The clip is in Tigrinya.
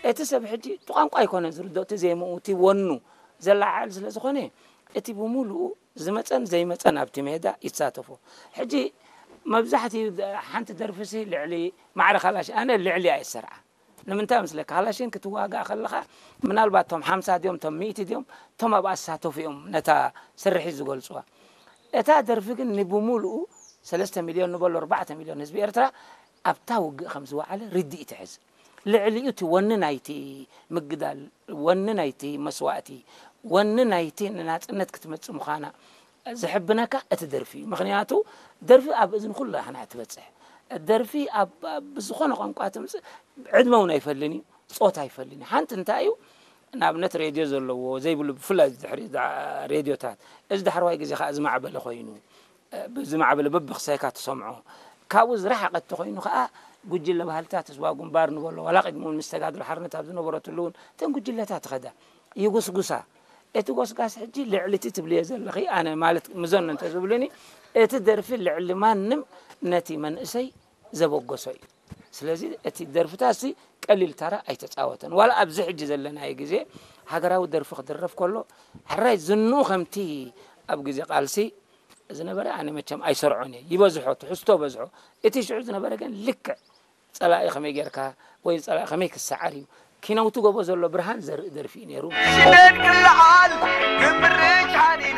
እቲ ሰብ ሕጂ እቲ ቋንቋ ኣይኮነን ዝርድኦ፣ እቲ ዜምኡ፣ እቲ ወኑ ዘለዓዕል ስለ ዝኾነ፣ እቲ ብምሉኡ ዝመጸን ዘይመጸን ኣብቲ ሜዳ ይሳተፎ። ሕጂ መብዛሕትኡ ሓንቲ ደርፊሲ ልዕሊ ማዕረ ካላሽ፣ ኣነ ልዕሊ እየ ዝሰርዓ። ንምንታይ መስለካ? ካላሽን ክትዋጋእ ከለኻ፣ ምናልባት እቶም ሓምሳ ድዮም፣ እቶም ሚእቲ ድዮም፣ እቶም ኣብኣ ዝሳተፉ እዮም ነታ ስርሒት ዝገልጽዋ። እታ ደርፊ ግን ንብምሉኡ ሰለስተ ሚልዮን ንበሎ፣ ኣርባዕተ ሚልዮን ህዝቢ ኤርትራ ኣብታ ውግእ ከም ዝወዓለ ርድኢት ይሕዝ። ልዕሊኡ እቲ ወኒ ናይቲ ምግዳል፣ ወኒ ናይቲ መስዋእቲ፣ ወኒ ናይቲ ንናጽነት ክትመጽእ ምዃና ዝሕብነካ እቲ ደርፊ እዩ። ምኽንያቱ ደርፊ ኣብ እዝኒ ኩሉ ኣሕና ትበጽሕ። ደርፊ ኣብ ኣብ ብዝኾነ ቋንቋ ትምጽእ፣ ዕድመ እውን ኣይፈልን እዩ፣ ጾታ ኣይፈልን እዩ። ሓንቲ እንታይ እዩ፣ ንኣብነት ሬድዮ ዘለዎ ዘይብሉ፣ ብፍላይ ድሕሪ እዛ ሬድዮታት፣ እዚ ዳሕረዋይ ግዜ ከኣ ዝማዕበለ ኮይኑ፣ ብዝማዕበለ በብክሳይካ ትሰምዖ። ካብኡ ዝረሓቐ እንተኾይኑ ከኣ፣ ጉጅለ ባህልታት ህዝባዊ ግንባር ንበሎ፣ ዋላ ቅድሚ እውን ምስ ተጋድሎ ሓርነት ኣብ ዝነበረትሉ እውን እተን ጉጅለታት ይኸዳ፣ ይጉስጉሳ። እቲ ጎስጋስ ሕጂ ልዕሊ እቲ ትብልዮ ዘለኺ፣ ኣነ ማለት ምዘኖ እንተዝብሉኒ፣ እቲ ደርፊ ልዕሊ ማንም ነቲ መንእሰይ ዘበገሶ እዩ። ስለዚ እቲ ደርፍታትሲ ቀሊል ተራ ኣይተጻወተን። ዋላ ኣብዚ ሕጂ ዘለናዮ ግዜ ሃገራዊ ደርፊ ክድረፍ ከሎ፣ ሕራይ ዝንኡ ከምቲ ኣብ ግዜ ቃልሲ ዝነበረ፣ ኣነ መቸም ኣይሰርዖን እየ። ይበዝሖ፣ ትሕዝቶ በዝሖ። እቲ ሽዑ ዝነበረ ግን ልክዕ ጸላኢ ከመይ ጌርካ ወይ ጸላኢ ከመይ ክሰዓር እዩ። ኪነውቲ ጎቦ ዘሎ ብርሃን ዘርኢ ደርፊ እዩ ነይሩ። ሽደድ ክለዓል ክምርጭ ሓኒኑ